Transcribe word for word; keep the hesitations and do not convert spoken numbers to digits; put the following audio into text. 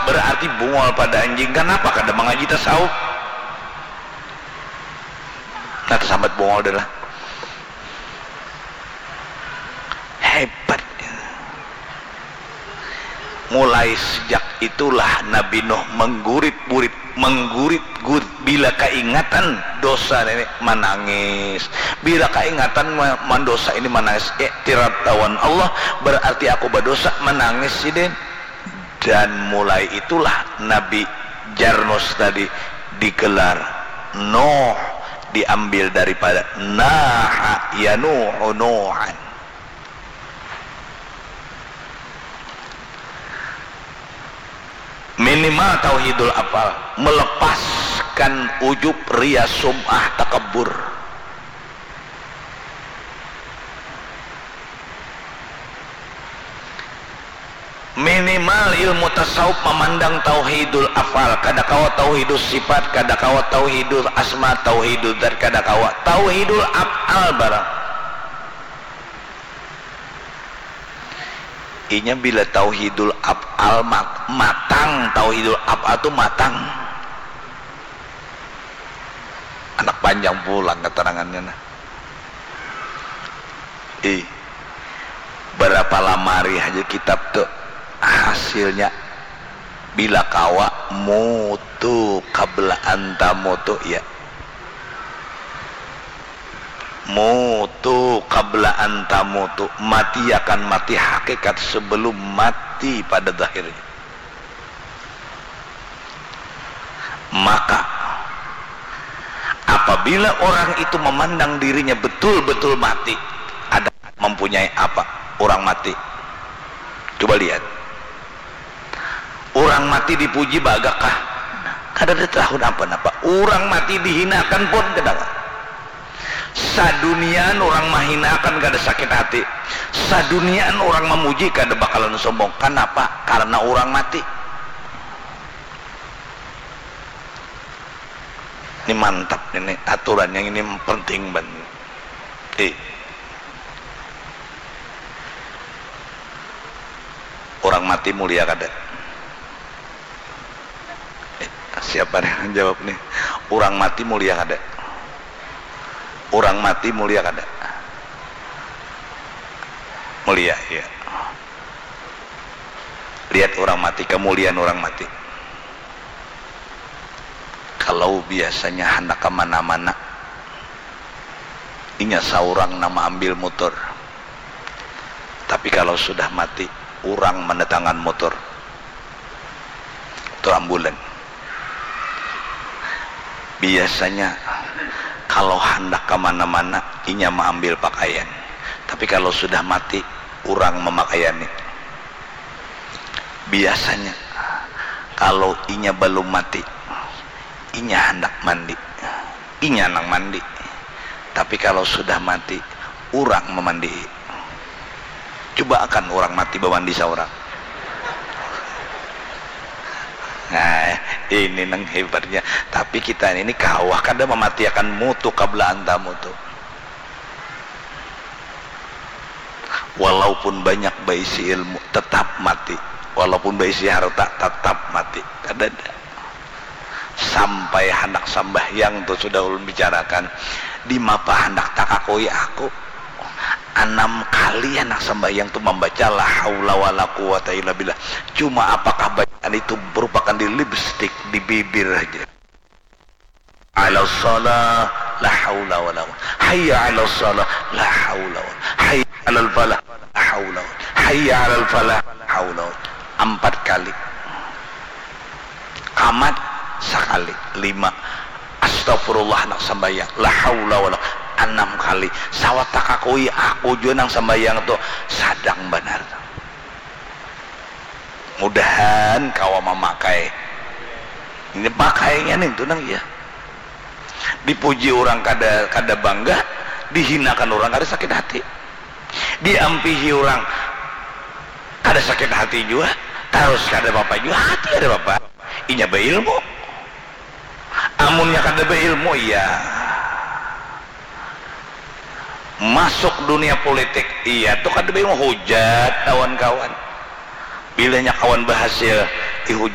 berarti bungol pada anjing. Kanapa kada mangaji tasawuf? Nah, tasambat bungol dah lah. Hebat. Mulai sejak itulah Nabi Nuh menggurit-gurit, menggurit-gurit. Bila kaingatan dosa ini, manangis. Bila kaingatan ma-, mandosa ini, manangis. Iktiraf lawan Allah, berarti aku badosa, manangis sidin. Dan mulai itulah Nabi Jarnus tadi digelar Nuh, diambil daripada naha yanuhu nuhan. Minimal tauhidul afal, melepaskan ujub, ria, sum'ah, takabur. Minimal ilmu tasawuf mamandang tauhidul afal, kada kawa tauhidus sifat, kada kawa tauhidul asma, tauhidul zat, kada kawa. Tauhidul afal barang. Inya bila tauhidul afal mat-, matang, tauhidul afal tu matang. Anak panjang pulang keterangannya nah. Ih, berapa lamari haja kitab tu hasilnya bila kawa mutu qabla an tamutu, ya. Mutu qabla an tamutu, mati akan mati hakikat sebelum mati pada zahirnya. Maka apabila orang itu memandang dirinya betul-betul mati, ada mempunyai apa orang mati? Coba lihat. Orang mati dipuji bagakah? Kada ada tahu napa-napa. Orang mati dihinakan pun kada. Saduniaan orang mahinakan kada sakit hati. Saduniaan orang mamuji kada bakalan sombong. Kanapa? Karena orang mati. Ini mantap ini, aturan yang ini penting banget. Eh. Orang mati mulia kada? Eh, siapa nih yang jawab nih? Orang mati mulia kada? Orang mati mulia kada? Mulia, ya. Lihat orang mati, kemuliaan orang mati. Kalau biasanya handak ke mana-mana, inya saurang nang maambil mutur. Tapi kalau sudah mati, urang mandatangan mutur. Tu ambulan. Biasanya kalau handak ke mana-mana, inya maambil pakaian. Tapi kalau sudah mati, urang mamakaiani. Biasanya kalau inya balum mati, inya handak mandi, inya nang mandi. Tapi kalau sudah mati, urang mamandii. Cubaakan urang mati bamandi saurang. Nah, ini nang hebatnya. Tapi kita ini kawa kada mamatiakan mutu qabla an tamutu. Walaupun banyak baisi ilmu, tetap mati. Walaupun baisi harta, tetap mati. Kadada. Sampai handak sambahyang tu sudah ulun bicarakan, dimapa handak takakui aku. Anam kali handak sambahyang tu mambaca la haula wala quwata illa billah. Cuma apakah bacaan itu berupakan di lipstick, di bibir haja. Ala shalah, la haula wala quwwata. Hayya ala shalah, la haula wala. Hayya alal falah, la haula wala. Hayya alal falah, la haula wala. Empat kali. Kamat sakali, lima. Astagfirullah nang sambayang, la haula wala, anam kali. Sawat takakui aku jua nang sambayang tu sadang banar. Mudahan kawa mamakai. Ini pakainya nih tu nang iya. Dipuji orang kada, kada bangga, dihinakan orang kada sakit hati. Diampihi orang kada sakit hati jua, tarus kada apa-apa jua, hati kada apa-apa. Inya bailmu. Amunnya kada bailmu, iya. Masuk dunia politik, iya tu kada bailmu, hujat kawan-kawan. Bilanya kawan bahasil, dihujat.